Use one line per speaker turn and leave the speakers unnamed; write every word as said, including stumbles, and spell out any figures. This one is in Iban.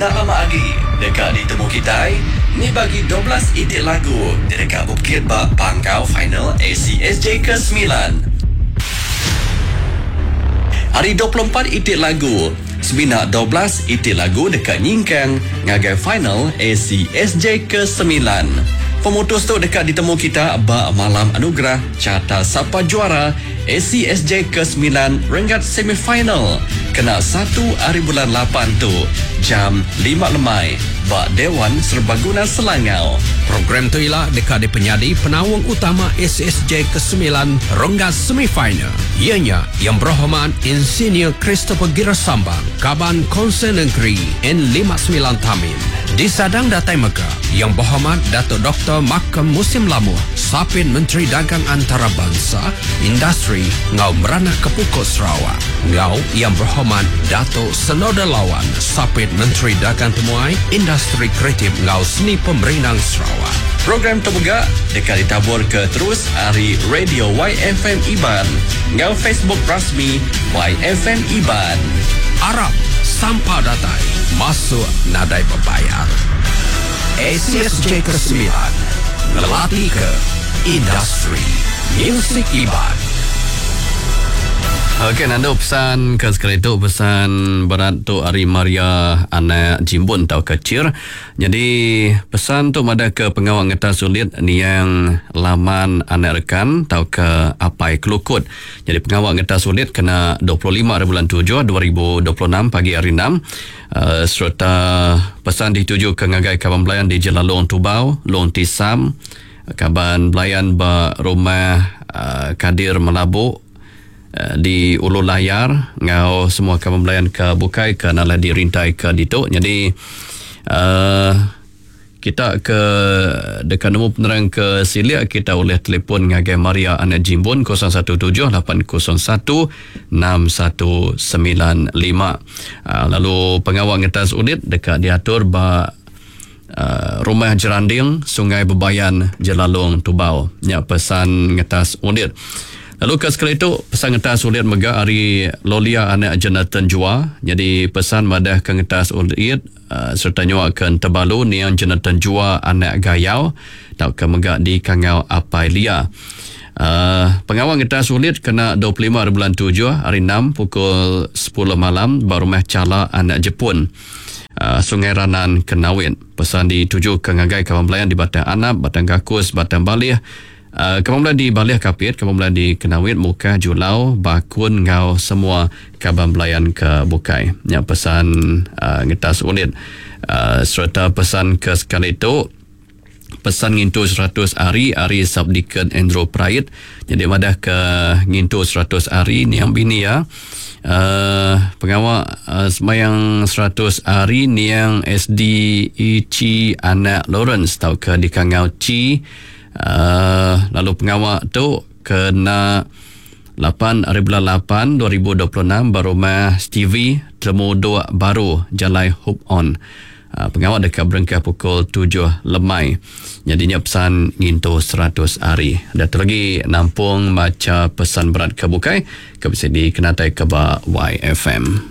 Enda lama agi deka ditemu kitai ni bagi dua belas iti lagu ti deka bepekit ba panggau final A C S J ke semilan. Ari dua puluh empat iti lagu, semina dua belas iti lagu deka nyingkang ngagai final A C S J ke semilan. Pemutus tu deka ditemu kita ba malam anugerah Carta Sapa Juara A C S J ke semilan renggat semifinal kena satu hari bulan lapan tu jam lima lemai ba Dewan Serbaguna Selangau.
Program tu ialah deka dipenyadi penaung utama A C S J ke semilan renggat semifinal. Ianya Yang Berhormat Insinyur Christopher Gira Sambang, Kaban Konsel Negeri N lima sembilan Tamin. Di Sadang Datai Mega, Yang Berhormat Datuk Doktor Makam Musim Lamuh, Sapin Menteri Dagang Antarabangsa, Industri Ngau Meranak Kepukuk Sarawak. Ngau Yang Berhormat Datuk Senoda Lawan, Sapit Menteri Dagang Temuai, Industri Kreatif Ngau Seni Pemerindang Sarawak.
Program tu juga dekat ditabur ke terus hari Radio Y F M Iban ngau Facebook rasmi Y F M Iban.
Arab Sampa Datai masuk nadai berbayar. A C S J ke sembilan ngelatih ke industri music Iban.
Okey, nandu pesan ke sekali tu, pesan berat tu hari Maria anak Jimbun tau kecil. Jadi pesan tu ada ke pengawal ngetas sulit niang laman anak rekan tau ke apai kelukut. Jadi pengawal ngetas sulit kena dua puluh lima hari bulan tujuh dua ribu dua puluh enam pagi hari enam. Uh, serta pesan dituju ke ngagai kaban belayan di Jelalong Tubau, Long Tisam, kaban belayan ba rumah uh, Kadir Melabuk di Ulu Layar ngau semua kaban belayan ke bukai ke nala dirintai ke ditu. Jadi uh, kita ke dekat nemu penerang ke silia kita oleh telefon ngagai Maria anak Jimbun kosong satu tujuh lapan kosong satu enam satu sembilan lima. Uh, lalu pengawal ngetas unit dekat diatur ba Uh, rumah Jeranding Sungai Bebayan Jelalong Tubau. Nya pesan ngetas unit. Lalu ke sekali itu pesan ngetas ulit mega hari Lolia anak Jonathan Jua. Jadi pesan madah ke ngetas ulit uh, serta nyuak ke Tebalu niang Jonathan Jua anak Gayau tau ke mega di Kangau Apai Lia. Uh, pengawal ngetas ulit kena dua puluh lima hari bulan tujuh hari enam pukul sepuluh malam ba rumah Cala anak Jepun. Uh, Sungai Ranan Kenawit. Pesan dituju ke ngagai kawan belayan di Batang Anap, Batang Gakus, Batang Balih. Uh, kawan belayan di Balih Kapit, kawan belayan di Kenawit, Mukah, Julau, Bakun, ngau semua kawan belayan ke Bukai. Yang pesan uh, ngetas unit. Uh, serta pesan ke sekali itu pesan ngintu seratus hari hari Subdeacon Andrew Pride. Jadi madah ke ngintu seratus hari ni yang bini ya. Uh, pengawal uh, semayang seratus hari ni yang S D E C anak Lawrence tau ke di Kangau Ci. Uh, lalu pengawal tu kena lapan hari bulan lapan dua ribu dua puluh enam berumah Stevie Temu Dua Baru Jalai Hope On. Uh, pengawal dekat berengkah pukul tujuh lemai. Jadinya pesan ngintu seratus hari. Ada tu lagi nampung baca pesan berat ke bukai ke bisa dikenatai ke ba Y F M.